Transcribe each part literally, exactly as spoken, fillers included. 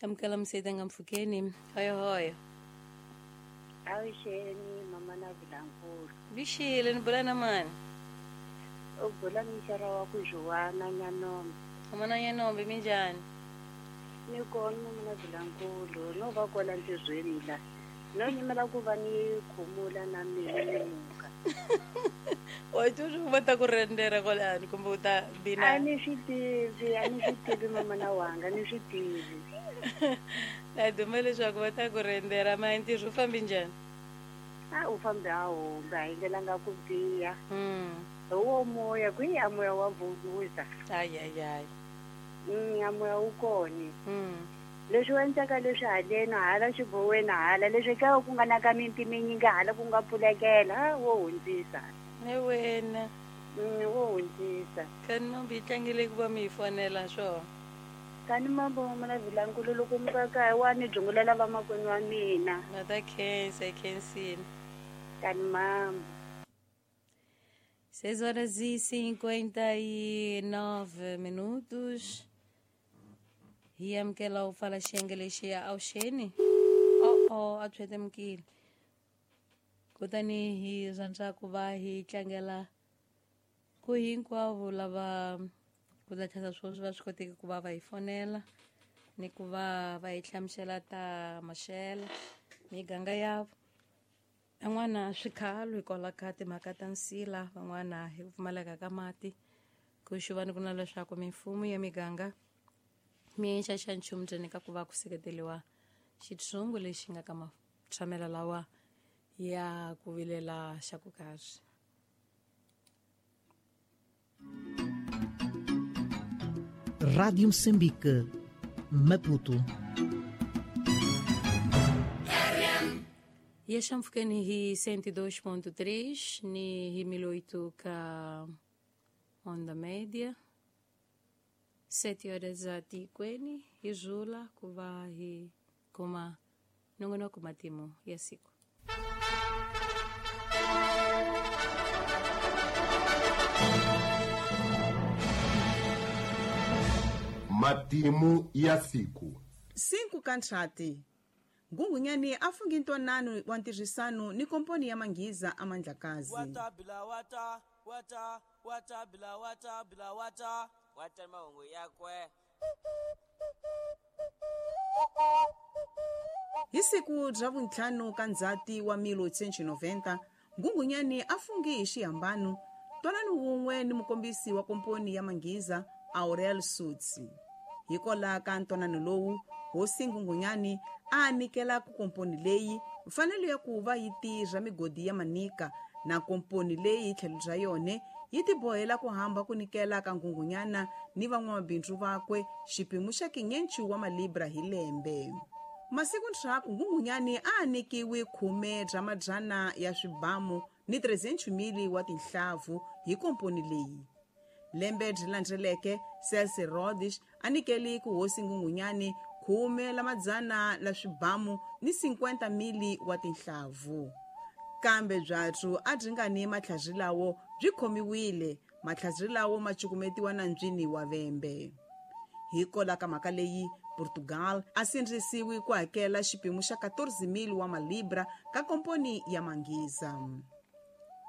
Amukela mseta mpfhukeni. Hoyo hoyo. Awuxeni mama na Vilankulu. Vixile ni bula na mani? U bula mixara wa ku Joana Nyanombe. Mama na Nyanombe minjhani? Ni kona mama na Vilankulu, no va kwala ntirhweni la. No nyimela ku va ni khumula na mina ni muka. Wa twa swi va ta ku rendera kwalani kumbe u ta bina? A ni swi tivi, a ni swi tivi mama na wanga, ni swi tivi. Na duma leswaku va ta ku rendera ma ntirho u fambi njhani? A u fambi a humba, a hi ndlelanga ku biha. Mm. Hi wo moya, kwihi a moya wa vunguza. Ay ay ay. Mm, a moya wu kona. Mm. Leswi endleka leswi haleni hala xiboweni hala leswi ka ku nga na ka miti minyingi hala ku nga pfulekela wo hundzisa. Ne wena. Mm, wo hundzisa. Kani mambi yi tlangile ku va mi hi fonela swona. Kani mambo mama na Vilankulu loko mi ka kaya wa ni dzungulela vamakwenu wa mina. Na ta khensa hi khensile. Kani mambo. seis horas e cinquenta e nove minutos. Hi amukela u pfala xiyenge lexiya awuxeni. Oh oh, a tshwetemukile. Kutani hi rhandza ku va hi tlangela ku hinkwavo lava ku ta tlhela sweswi va swi koteki ku va va hi fonela ni ku va va hi hlamusela ta maxelo miganga ya van'wana swikhalo hikwalaho ka timhaka ta nsila, van'wana hi ku pfumaleka ka mati. Ku xuvani ku na leswaku mimfumo ya miganga mi xa nchumu ntsena ka ku va ku seketeriwa xitshungu lexi nga ka matshamelo lawa ya ku vilela xa ku karhi. Rádio Moçambique, Maputo. E mpfhukeni hi cento e dois ponto três ni hi mil oito ka onda média. Sete horas a tikweni hi zula ku va hi kuma nongonoko matimu ya siku. Matimu ya siku. Cinco kantrati. Ngungunyani a fungi ntwanano wa ntirhisano ni komponi ya Manghiza a Mandlakazi. Wata bila wata, wata, wata bila wata bila wata, wata mahungu yakwe. Hi siku ra vuntlhanu ka Ndzhati wa mil oitocentos e noventa, Ngungunyani a fungi hi xihambano ntwanano wun'we ni mukombisi wa komponi ya Manghiza Aurel Sutsi. Hikwalaho ka ntwanano lowu, hosi Ngungunyani a nyikela ku komponi leyi mfanelo ya ku va yi tirha migodi ya Manika na komponi leyi hi tlhelo bya yona yi tibohela ku hamba ku nyikela ka Ngungunyana ni van'wamabindzu vakwe xiphemu xa quinhentos wa malibra hi lembe. Masiku ndzhaku Ngungunyani a nyikiwe khume bya madzana ya swibamu ni trezentos mili wa tinhlavu hi komponi leyi. Lembe byi landzeleke Celso Rhodes a nyikele ku hosi Ngungunyani khume la madzana la swibamu ni cinquenta mili wa tinhlavu. Kambe byatsu a byi nga ni matlhari lawo byi khomiwile, matlhari lawo ma cukumetiwa nandzwini wa vembe. Hikwalaho ka mhaka leyi, Portugal a sindzisiwi ku hakela xiphemu xa quatorze mil wa malibra ka komponi ya Manghiza.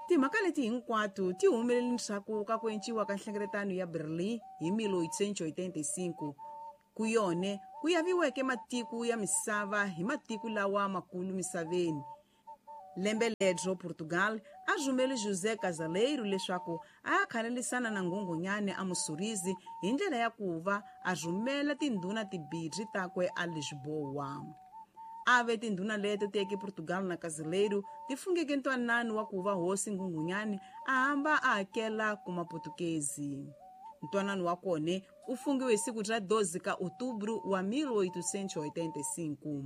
Timhaka leti hinkwato ti humelele ndzhaku ka ku enciwa ka nhlengeletano ya Berlin hi mil oitocentos e oitenta e cinco. Ku yone ku yaviweke matiko ya misava hi matiko lawa makulu misaveni. Lembe ledro Portugal a rhumele José Casaleiro leswaku a khanelisana na Ngungunyani a Mussurizi hi ndlela ya ku va a rhumela tindhuna timbirhi takwe a Lisboa. A ve tindhuna leto teke Portugal na Casaleiro ti fungeke ntwanano wa ku va hosi Ngungunyani a hamba a hakela ku maputukezi. Ntwanano wa kona u fungiwe hi siku ra doze ka Outubro wa mil oitocentos e oitenta e cinco.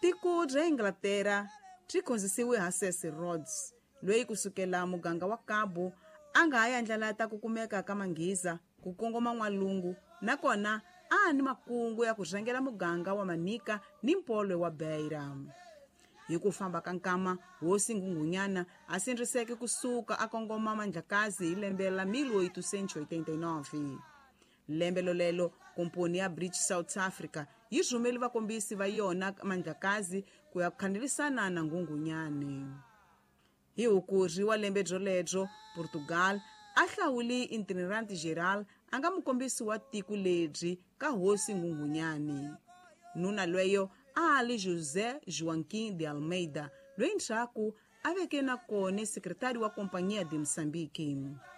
Tiko ra Inglaterra ri khonzisiwe ha Cecil Rhodes, loyi kusukela muganga wa Cabo a nga ha yandlalata ku kumeka ka Manghiza ku kongoma n'walungu, nakona a ni makungu ya ku rhangela muganga wa Manika ni mpolwe wa Beira. Hi ku famba ka nkama, hosi Ngungunyana a sindziseke kusuka a kongoma Mandlakazi hi lembe la mil oitocentos e oitenta e nove. Lembe lolelo komponi ya British South Africa yi rhumele vakombisi va yona Mandlakazi ku ya khanelisana na Nghunghunyane. Hi Hukuri wa lembe byolebyo, Portugal a hlawule Itinerante Geral a nga mukombisi wa tiko lebyi ka hosi Nghunghunyane. Nuna lweyo a a li José Joaquim de Almeida, loyi ndzhaku a veke na kona sekretari wa Companhia de Moçambique.